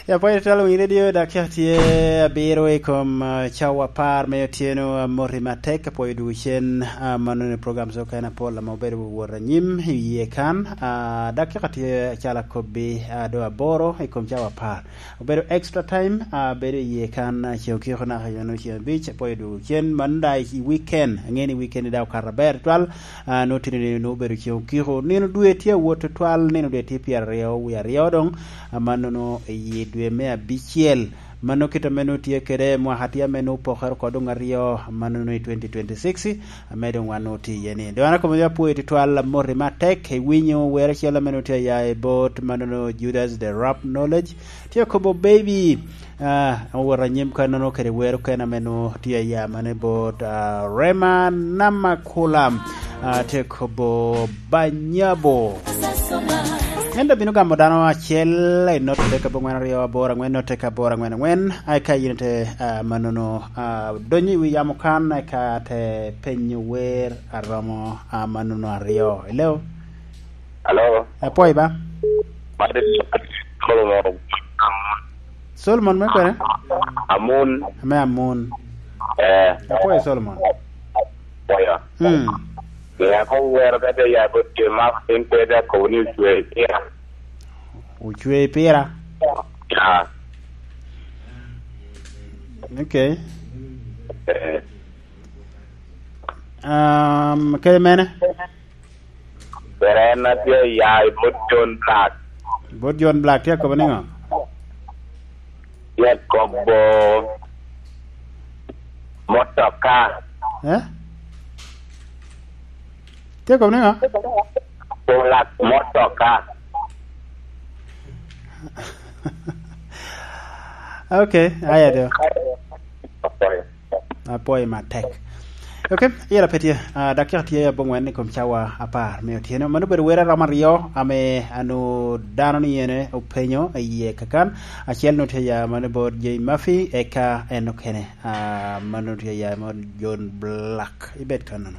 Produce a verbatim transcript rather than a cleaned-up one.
Ya, pwod itwal winyo redio, dakika tye abiro i kom, ah, cawa apar me otyeno. Amoti matek, apwoyo dwogo cen, ah, mano ni program okene apol ame obedo wot anyim i yie kan. Ah, dakika tye acalo akobbi, ah, do aboro i kom cawa apar. Obedo extra time, ah, bedo i yie kan, ah, ceŋ okiko naka i nino ceŋ abic, apwoyo dwogo cen. Mano da i weekend, angeyo ni weekend da okato aber twal. Ah, nwoŋo tye ni nwoŋo obedo ceŋ okiko. Nino dwe tye awot tutwal, nino dwe tye pyeraryo wie aryo doŋ, amannono i dwe me abicel. Mano kit ame nwoŋo tye kede mwaka tye ame nwoŋo opokere oko doŋ aryo, amannono i twenty twenty-six, ame doŋ wan nwoŋo tye iye ni. Doŋ an akobo ni apwoyo tutwal, amoti matek, iwinyo wer acel ame nwoŋo tye aya i bot mannono Judas the Rap Knowledge, tye akobo baby. Ah, owot anyim kannono kede wer okene ame nwoŋo tye aya mane bot, ah, Rema Namakula, ah, tye kobo Banyabo. En dok bino gamo dano acel i note ka abongwen aryo aboro angwen, note ka aboro angwen angwen. Ai ka yin te, ah, mannono, ah, donyo i wi yamo kan, ai ka te penyo wer aromo, ah, mannono aryo. Hello? Hello? Apwoyo ba? Madi Solomon. Solomon me kwene? Amun. Me Amun. Eh. Apwoyo Solomon. Apwoyo. Mm. Ŋeko wero ka te ya bot Jemaf, en pe te akobo ni ocwe i pira. Ocwe i pira? Ah. Okay. Eh. Um, kede mene? Pere en a tye ya i bot John Black. Bot John Black tye akobo niŋo? Tye akobo motoka. Eh? Tye akobo niŋo? Black motoka. Okay, aya do. Apwoyo matek. Okay, yela pe tye. Ah, dakika tye abongwen i kom cawa apar me otyeno. Mano obedo wer aromo aryo ame anu dano ni ene openyo i yie kakan. Acel nwoŋo tye ya mano bot Jay Murphy, eka en okene, ah, mano tye ya mot John Black. Ibed kannono.